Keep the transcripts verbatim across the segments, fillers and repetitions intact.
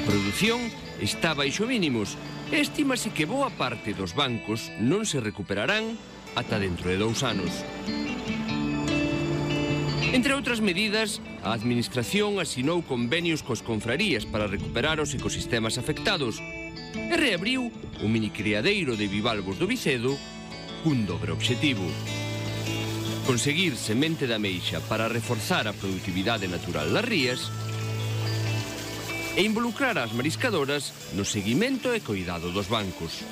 produción está baixo mínimos e estímase que boa parte dos bancos non se recuperarán ata dentro de dous anos. Entre outras medidas, a Administración asinou convenios cos confrarías para recuperar os ecosistemas afectados e reabriu o minicriadeiro de bivalvos do Vicedo cun dobre obxectivo: conseguir semente de ameixa para reforzar a produtividade natural das rías e involucrar as mariscadoras no seguimento e cuidado dos bancos.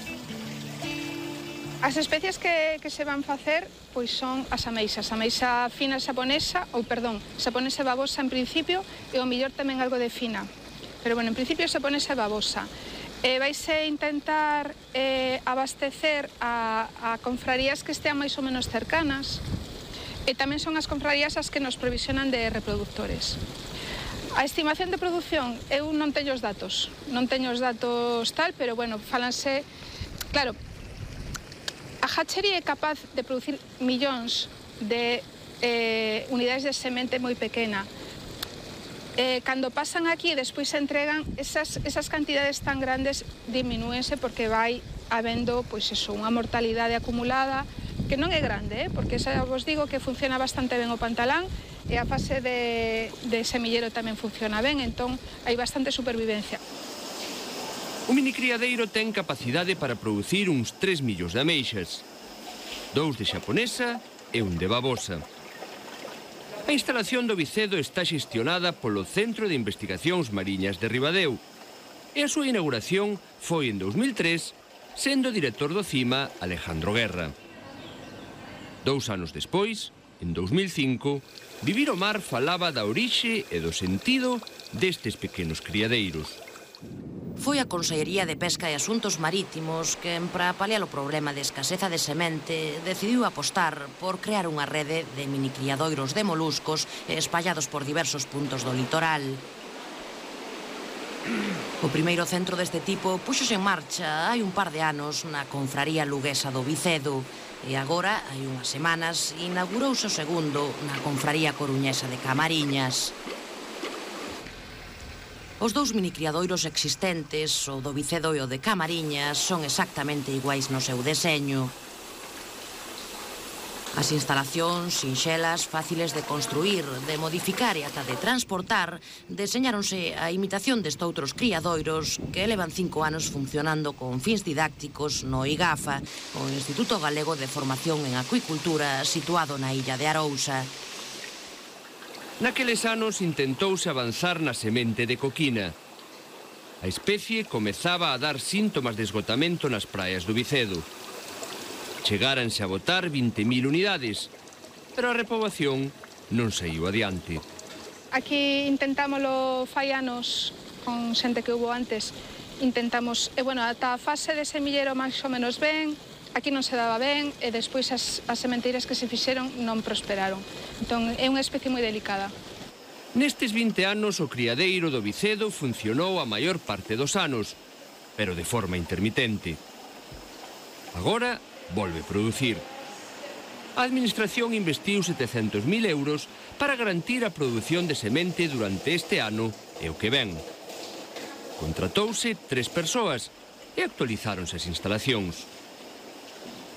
As especies que, que se van facer pois son as ameixas, a ameixa fina xaponesa, ou perdón, xaponesa e babosa en principio, e o mellor tamén algo de fina. Pero bueno, en principio xaponesa e babosa. E vaise intentar eh, abastecer a, a confrarías que estean máis ou menos cercanas, e tamén son as confrarías as que nos provisionan de reproductores. A estimación de produción, eu non teño os datos, non teño os datos tal, pero bueno, falanse, claro, a hatchery é capaz de producir millóns de eh, unidades de semente moi pequena. Eh, cando pasan aquí e despois se entregan, esas, esas cantidades tan grandes diminúense porque vai habendo, pois eso, unha mortalidade acumulada que non é grande, eh? Porque xa vos digo que funciona bastante ben o pantalán e a fase de, de semillero tamén funciona ben, entón hai bastante supervivencia. O minicriadeiro ten capacidade para producir uns tres millóns de ameixas, dous de xaponesa e un de babosa. A instalación do Vicedo está xestionada polo Centro de Investigacións Mariñas de Ribadeo e a súa inauguración foi en dous mil tres, sendo director do CIMA Alejandro Guerra. Dous anos despois, en dous mil cinco, Vivir o Mar falaba da orixe e do sentido destes pequenos criadeiros. Foi a Consellería de Pesca e Asuntos Marítimos que, para paliar o problema de escaseza de semente, decidiu apostar por crear unha rede de minicriadoiros de moluscos espallados por diversos puntos do litoral. O primeiro centro deste tipo puxose en marcha hai un par de anos na confraría luguesa do Vicedo e agora, hai unhas semanas, inaugurouse o segundo na confraría coruñesa de Camariñas. Os dous minicriadoiros existentes, o do Vicedo e o de Camariñas, son exactamente iguais no seu deseño. As instalacións sinxelas, fáciles de construir, de modificar e ata de transportar, deseñáronse a imitación destoutros criadoiros que levan cinco anos funcionando con fins didácticos no IGAFA, o Instituto Galego de Formación en Acuicultura, situado na illa de Arousa. Naqueles anos intentouse avanzar na semente de coquina. A especie comezaba a dar síntomas de esgotamento nas praias do Vicedo. Chegáranse a botar vinte mil unidades, pero a repoboación non saiu adiante. Aquí intentámoslo fai anos con xente que hubo antes. Intentamos, e bueno, ata a fase de semillero máis ou menos ben, aquí non se daba ben, e despois as, as sementeiras que se fixeron non prosperaron. Entón, é unha especie moi delicada. Nestes vinte anos, o criadeiro do Vicedo funcionou a maior parte dos anos, pero de forma intermitente. Agora, volve producir. A Administración investiu setecentos mil euros para garantir a produción de semente durante este ano e o que ven. Contratouse tres persoas e actualizáronse as instalacións.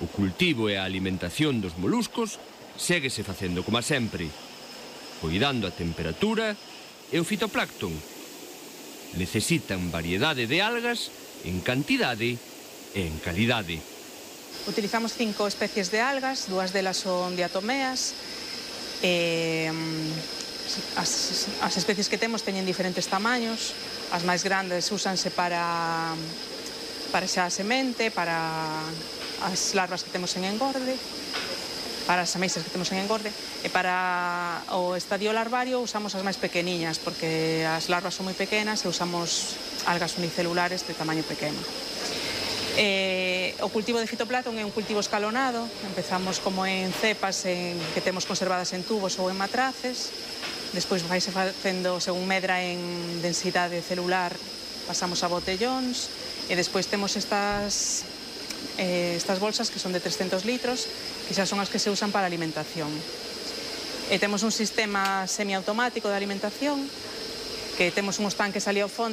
O cultivo e a alimentación dos moluscos séguese facendo como sempre, cuidando a temperatura e o fitoplancton. Necesitan variedade de algas en cantidade e en calidade. Utilizamos cinco especies de algas, dúas delas son diatomeas. E, as, as especies que temos teñen diferentes tamaños. As máis grandes úsanse para, para xa a semente, para as larvas que temos en engorde, para as ameixas que temos en engorde, e para o estadio larvario usamos as máis pequeniñas, porque as larvas son moi pequenas e usamos algas unicelulares de tamaño pequeno. Eh, o cultivo de fitoplancton é un cultivo escalonado. Empezamos como en cepas en, que temos conservadas en tubos ou en matraces. Despois vaise facendo, según medra en densidade celular, pasamos a botellóns. E despois temos estas, eh, estas bolsas que son de trescentos litros, que xa son as que se usan para a alimentación. E temos un sistema semiautomático de alimentación, que temos uns tanques ali ao fondo